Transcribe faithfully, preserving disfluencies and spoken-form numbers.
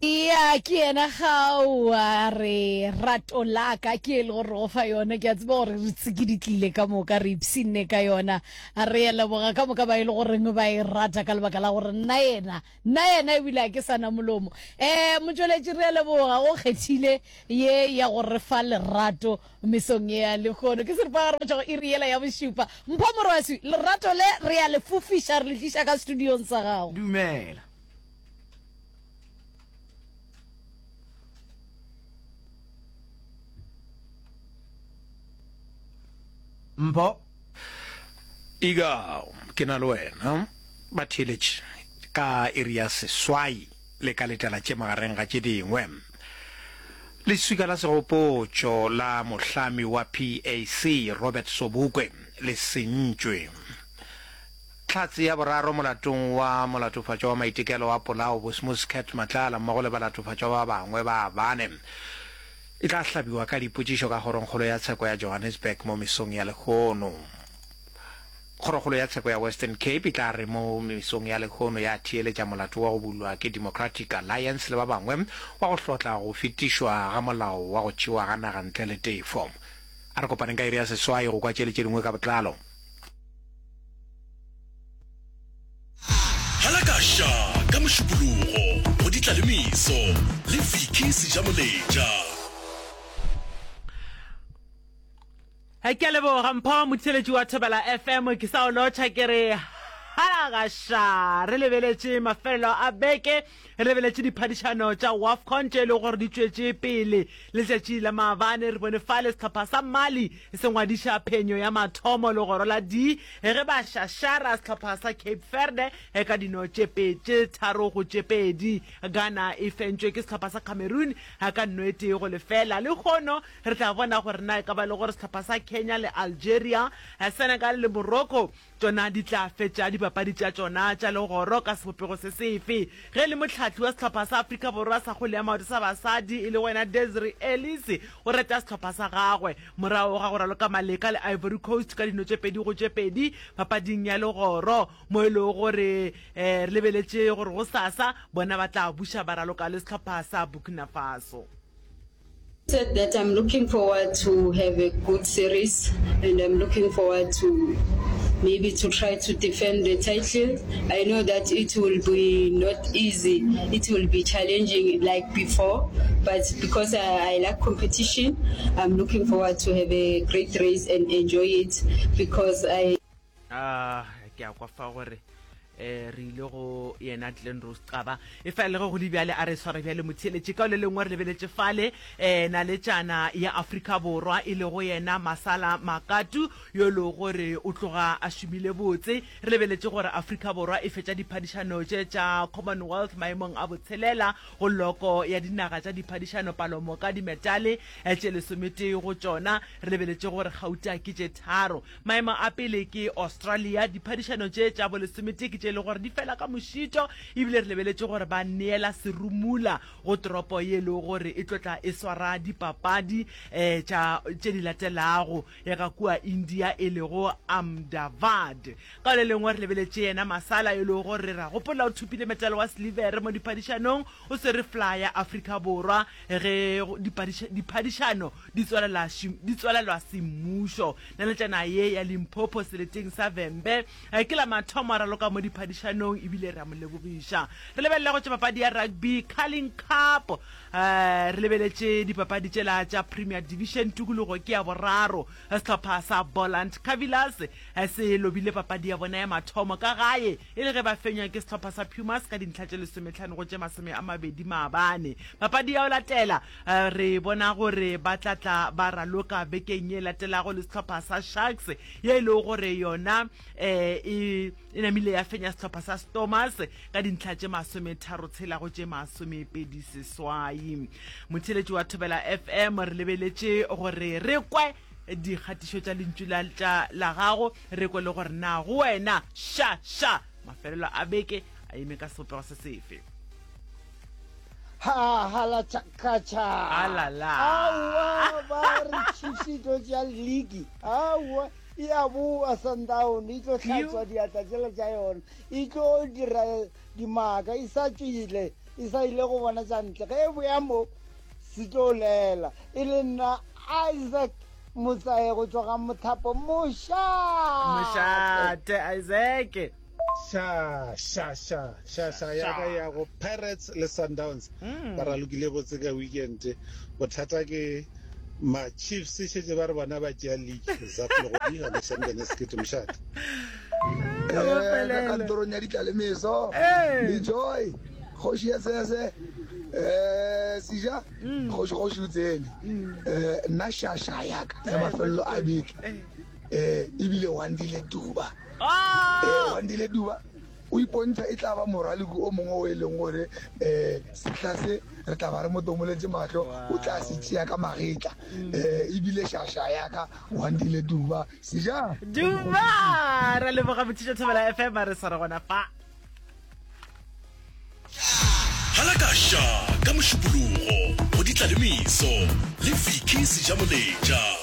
Ya, ke yena gao a re rato la ka ke e le gore go fa yona. Ke a tseba gore re tsikiditlile ka moka, re ipshinne ka yona. A re ya leboga ka moka ba e le goreng ba e rata ka lebaka la gore nna yena, nna yena ebile a ke sana molomo. Um motšweletši re a leboga go kgethile ye ya go re fa lerato mesong ye ya lehono. Ke seripagare go tšwa go iri yela ya bošupa. Mpho Morwaswi, lerato le re a le fofiša re le tliša ka studiong sa gago. Dumela. Mpho. Ika, ke na le wena. Ba theeletše ka iri ya seswai le ka letela tše magareng ga tše dingwe. Leswika la segopotšo la mohlami wa P A C Robert Sobukwe le sentšwe. Hlatse ya boraro molatong wa molatofatšwa wa maitekelo a polao Bosmus Cat Matlala mmogo le balatofatšwa ba bangwe ba bane e tla hlabiwa ka dipotšišo ka Kgorongkgolo ya Tsheko ya Johannesburg mo mesong ya lehono. Kgorokgolo ya Tsheko ya Western Cape e tla re mo mesong ya lehono ya theeletša molato wa go bulwa ke Democratic Alliance le ba bangwe wa go hlotla go fetišwa ga molao wa go tšewa ga naga ntle le tefo. A re kopaneng ka iri ya seswai go kwa tše le tše dingwe ka botlalo. Halakaša ka Mošupologo go Ditlalemiso le Vicky Sejamoletša. Ke a leboga Mpho, motheeletši wa Thobela F M, ke sa o lotšha ke re halakaša. Re lebeletše mafelelo a beke, re lebeletše diphadišano tša WAFCON tše e lego gore di tšwetše pele letšatši la maabane. Re bone fale sehlopha sa Mali se ngwadiša phenyo ya mathomo legoro la D ge ba šašara sehlopha sa Cape Verde ka dino tše tše tharo go tše pedi. Ghana e fentšwe ke sehlopha sa Cameroon ka nno e tee go lefela. Lehono re tla bona gore na e ka ba le gore sehlopha sa Kenya le Algeria, Senegal le Morocco tšona di tla fetša dipapadi tša tšona tša legoro ka sebopego se sefe. Ge e le mohlahli wa sehlopha sa Afrika Borwa sa kgwele ya maoto sa basadi e lego yena Desiree Ellis o reta sehlopha sa gagwe morago ga go raloka maleka le Ivory Coast ka dino tše pedi go tše pedi papading ya legoro mo e lego gore re lebeletše gore gosasa bona ba tla buša ba raloka le sehlopha sa Burkina Faso. Said that I'm looking forward to have a good series and I'm looking forward to maybe to try to defend the title. I know that it will be not easy, it will be challenging like before, but because I, I like competition, I'm looking forward to have a great race and enjoy it because I Ah, ke a kwa fa gore eh re ile go yena Glenrose Xaba. E fa le ge go le bjale, a re sware bjale motheeletši ka le lengwe re lebeletše fale eh naletšana ya Afrika Borwa e lego yena Masala Makatu yo e lego gore o tloga a šomile botse. Re lebeletše gore Afrika Borwa e fetša diphadišano tše tša Commonwealth maemong a botshelela go loko ya dinaga tša diphadišano, palomoka dimetale tše lesometee go tšona. Re lebeletše gore gauta ke tše tharo. Maemo a pele ke Australia. Diphadišano tše tša bolesometee ke tše e le gore di fela ka mošito, ebile re lebeletše gore ba neela serumula go toropo ye e lego gore e tlo tla e swara dipapadi um tša tše di latelago ya ka kua India e lego Ahmedabad. Ka le lengwe re lebeletše yena Masala e lego gore ra gopola o thopile metale wa silivere mo diphadišanong, o swere fla ya Afrika Borwa ge diphadišano di tswalela di tswalelwa semmušo. Naletšana ye ya Limpopo seleteng sa Vhembe ke la mathomo a raloka mo diphadišanong ebile re a mo lebogiša. Re lebelela go tša papadi ya rugby Carling Cup, re lebeletše dipapadi tšela tša Premier Division tikologo ke ya boraro. Sehlopha sa Boland Cavillers se lobile papadi ya bona ya mathomo ka gae e le ge ba fenywa ke sehlopha sa Pumas ka dintlha tše lesometlhano go tše masome a mabedi maabane. Papadi ya go latela re bona gore ba tla tla ba raloka bekeng ye latelago le sehlopha sa Sharks ye e lego gore yona e e namile ya fenya sehlopha sa Stormers ka dintlha tše masometharo tshela go tše masomepedi seswai. Motheeletši wa Thobela F M, re lebeletše gore re kwe dikgatišo tša lentšu la tša la gago, re kwe le gore na go wena ša ša mafelelo a beke a eme ka sebopego se sefe. Ha hala tšhakatšha. Alala. Aowa ba re Chiefs e tlo tšea league. Aowa e a boa Sundown e tlo hlatswa diatla tšela tša yona. E tlo dira dimaka e sa tšwile. e sa ile go bona tša ntle ge e boya mo se tlo lela e le nna Isaac Motsae go tšwa ga Mothapo mošate. Mošate Isaac. Ša, ša, ša, ša, ša ya ka ya go Pirates le Sundowns ba ralokile botse ka weekend. Bothata ke ma Chiefs šetše ba re bona ba tšea league. Zaf Legodi ga Lešambene Sekete mošate. Eh, ka kantorong ya ditlalemeso le Joy kgoši ya sese eh seja kgoši kgoši o tsene eh nna shasha ya ka ya mafelelo a beke eh ebile Wandile Duba eh Wandile Duba o ipontšha e tla ba moraloki o mongwe o e leng gore um sehla se re tla ba re mo tomoletše mahlo o tla se tšea ka magetla um ebile šaša ya ka Wandile Duba seja Duba ra leboga mothiša Thobela F M a re sware gona fa. Halakaša ka Mošupologo go Ditlalemeso le Vicky Sejamoletša.